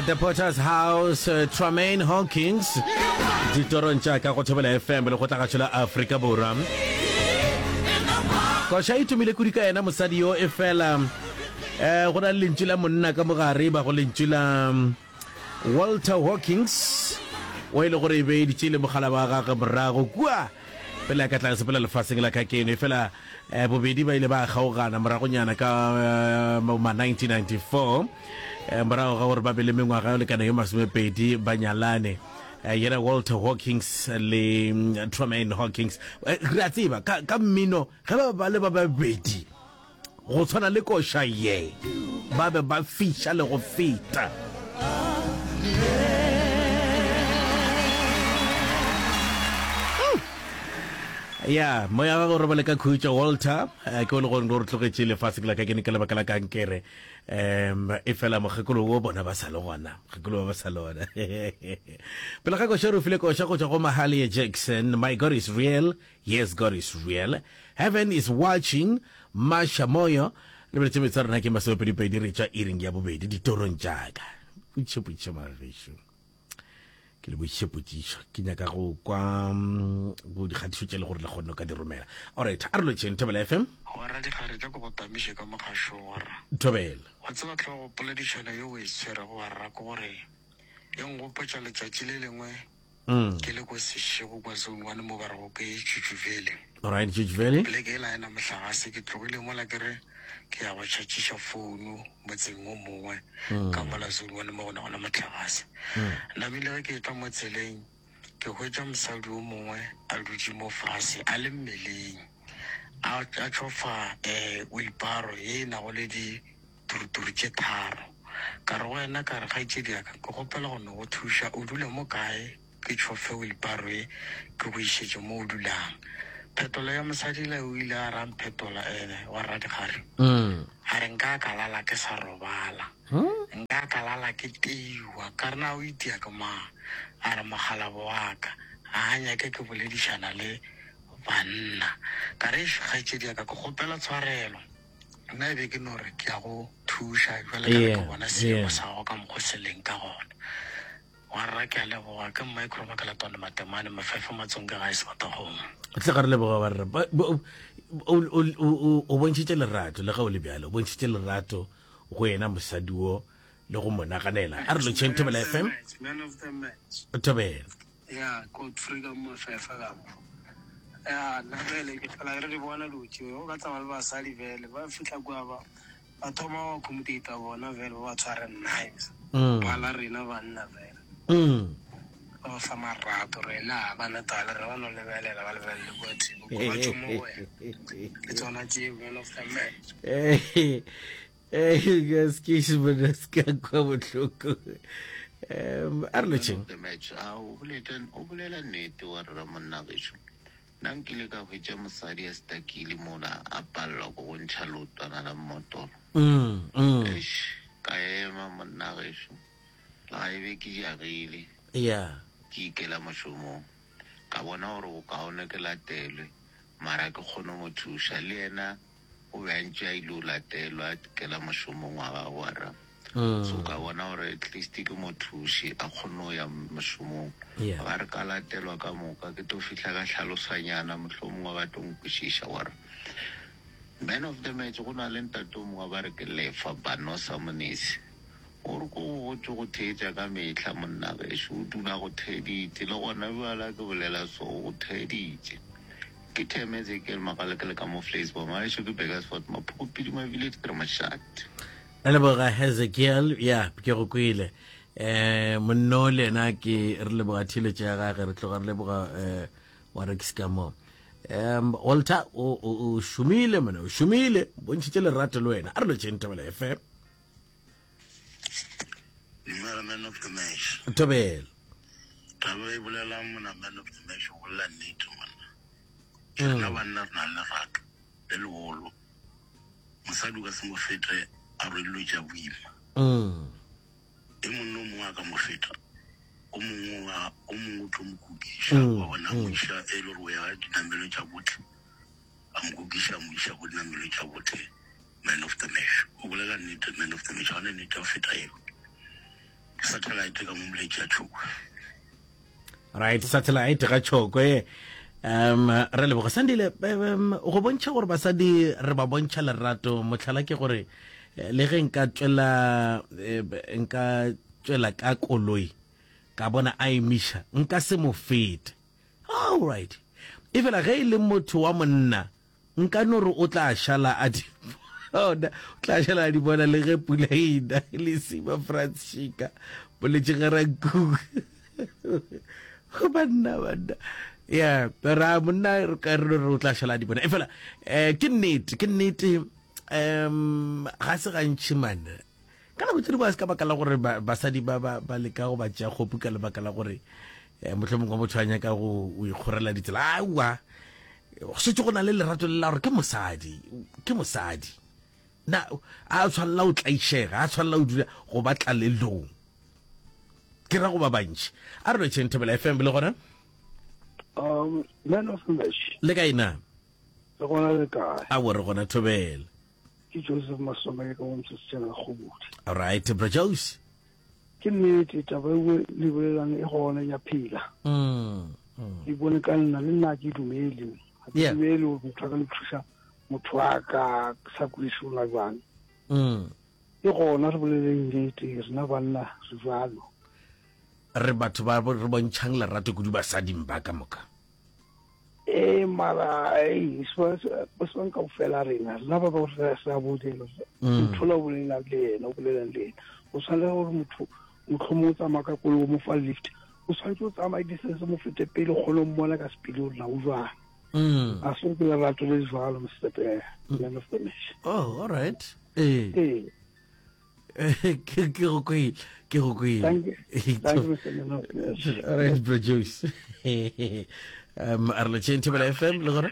At the Potter's House, uh, Tramaine Hawkins, ditorong tša ka go Thobela FM le go tlagatšo la Afrika Borwa. Koša e tumile kudu ka yena mosadi yo e fela eh go na le lentšu la monna ka mogare ba go lentšu la mm, Walter Hawkins o e le gore e be e ditše le mogala wa gagwe morago kua pele a ka tla sepela lefaseng la ka keno e fela eh, bobedi ba ile ba kgaogana moragonyana ka eh, ma 1994 eh, morago ga gore ba be le mengwaga yo lekana yo masomepedi ba nyalane eh, yena Walter Hawkins le mm, Tramaine Hawkins eh, re a tseba ka, ka mmino ge ba ba le ba babedi go tshwana le koša ye ba be ba fiša le go feta. Ya moya wa go robale ka khutšo Walter eh, ke o le gore re tlogetše lefase ke la ka ke ne ka lebaka la kankere um e fela mokgekolo wo bona ba sa le gona mokgekolo ba ba sa le gona pele ga koša re file koša go tšwa go Mahalia Jackson my God is real Yes God is real Heaven is watching Masha Moyo Lebeletše metsa rena ke masomepedipedi re tšwa iring ya bobedi ditorong tšaka Potšišo potšišo magešo ke le bošiše potšišo ke nyaka go kwa mm, go dikgatišo tše le gore le kgonne ka di romela alright a re lotšheng Thobela FM Warra dikgare tša ko go tamiše ka mogašong warra. Thobela Wa tseba hlogo poledišano ye o e tshwerego warra ke gore e nkgopotša letšatši le lengwe Ke le ko Seshego kwa Zone One mo ba rego ke Tšutšuvele. Alright, Tšutšuvele. Poleke yela ga e na mohlagase, ke tlogile mola ke re ke ya go tšhatšiša founu motseng o mongwe ka mola Zone One mo go nago le mohlagase. Namile ge ke etla mo tseleng ke hwetša mosadi o mongwe a dutše mo fase a le mmeleng a a tšhofa um wheelbarrow ye e nago le di turuturu tše tharo. Ka re go yena, ka re, Kgaetšedi ya ka, ke kgopela go no go thuša. O dula mo kae? Ke tšhofe wheelbarrow ye, ke go išetše mo o dulang. Phetolo ya mosadi le o ile a re a mphetola, ene wa Radikgare, a re, Nka ka lala ke sa robala. Nka ka lala ke teiwa. Ka re, Na o itia ke mang? A re, Mokgalabo wa ka. Ga a nyake ke boledišana le banna. Ka re, Eish, kgaetšedi ya ka, ke kgopela tshwarelo. Nna e be ke no re ke ya go thuša jwale ka ge ke bona seemo sa gago ka mokgo se leng ka gona. Warra ke a leboga ke Micro Makalatwane Matemane Mafefe Matsonge gae Sebatakgomo. Tle ga re leboga warra. O bontšhitše lerato le ge o le bjalo, o bontšhitše lerato go yena mosadi wo le go mo naganela. A re lotšheng Thobela FM. Thobela. Ya, Godfrey ka Mafefa ka mo. Ya, nna bjale ke fela re di bona dilo tšeo. O ka tsamaya le basadi bjale, ba fihla kua ba ba thoma go accommodate bona bjale, ba ba tshware nice. Phala rena banna bjale. Ba ba fa marato, rena ga ba na taba le rena, ba no lebelela, ba lebelele kua thoko, ba tšwe mo go wena. Ke tsona tšeo, man of the match. Excuse me, se ka kwa bohloko. Um, a re lotšheng. The match a o boleta o bolela nnete wa rra monna gešo nna nkile ka hwetša mosadi a stakile mola a palelwa ko go ntšha leotwana la mmotoro Mm, mm. eish ka ema monna gešo le ga e be ke jagile Yeah. ke ikela mošomong ka bona gore bokaone ke latelwe mara ke kgone go mo thuša le yena O be a ntše a ile o latelwa a kela mošomong wa gagwe wa ra. So ka bona gore at least ke mo thuše a kgone go ya mošomong. Yeah. Ga re ka latelwa ka moka ke tlo fihla ka hlalosanyana mohlomongwe ba tlo nkwešiša gore man of the match go na le ntate o mongwe ba re ke Lefa Banosa Monesi. O re ko go gotše go theetša ka mehla monna gešo o dula go theeditše le gona bjala ke bolela so o theeditše. Ke Theme Ezekiel Magalekele ka mo Vleisbom, gaešo ke Burgersfort, Maphoko Pidima Village, ke re mošate. Re leboga Hezekiel, ya ke go kwele. Eh monno le yena ke re leboga theeletšo ya gage, re tloga re leboga eh wa Rex ka mo. Um Walter o o o šomile mona, o šomile, bontšhitše lerato le wena. A re lotšheng Thobela FM. Dumela man of the match. Thobela. Taba e bolelang mona man of the match o bolela nnete monna. Rena mm. banna re na le lerato le legolo. Mosadi o ka se mo fete a rwele dilo tša boima. Mm. E monna o mongwe a ka mo feta o mongwe o mongwe o tlo mo kukiša mm. wa bona mo iša e le gore o ya dinamelo tša botlhe a mo kukiša a mo iša ko dinamelo tša botlhe Man of the match. O bolela nnete man of the match. Ga ne nnete ya go feta eo. Satellite ka mo moletši ya Tšhokwe. Right, satellite ga Tšhokwe. Um re leboga Sandile um, go bontšha gore basadi re ba bontšha lerato mohlala ke gore eh, le ge nka tšwela eh, nka tšwela ka koloi ka bona a emiša nka se mo fete all right efela ge e le motho wa monna Nka no re o tla šala a di bona, o tla šala a di bona le ge pula e na le sima Frans Shika boletše Garankuwa. Go banna banna. Ya, ra monna re ka re no re o tla šala a di bona. Efela eh ke nnete, ke nnete um ga se gantši man. Ka nako tše dingwe ga se ka baka la gore basadi ba ba ba leka go ba tšea kgopu ka lebaka la gore eh, mohlomongwe motho a nyaka go o ikgorela ditsela. Aowa, go šetše go na le lerato le la gore ke mosadi, ke mosadi. Na a tshwanela go tlaišega, a tshwanela go dula go ba tlalelong. Ke ra go ba bantši. A re lotšheng Thobela FM le gona? Um, man of the match. Le kae na? Le gona le kae? Aowa re gona Thobela. Ke Joseph Masomeke ka mo Mosesejana Kgobodi. Alright, bro Jose. Ke nnete taba e le bolelang e gona ya phela. Mm. mm. Ke bone ka nna le nna ke dumele. Ga ke dumele gore motho a ka nthuša motho a ka sa kweše ona jwang. Mm. E gona re boleleng nnete rena banna re jwalo. Re batho ba re bontšhang lerato kudu basading ba ka moka. Ee, mara ei, se ka ofela rena rena ba ba re sa bolela mm. motho la o bolelang le yena o bolelang le yena o tshwanela gore motho motlhomo o tsamaya ka koloi o mo fa lift o tshwanetse o tsamaye distance mo fete pele o kgone o mmona ka sepele gore na o jwang mm. a se ke lerato le jwalo mr mm. man of the match oh all right ee ee ke ke go kwele ke go kwele Thank you. Thank you, Mr. Man of the match. all right bro Joyce um a re lotšheng thobela fm le gona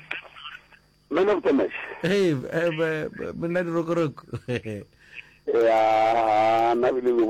Man of the match. hey eh, monna dirokoroko Ya, nna bile le.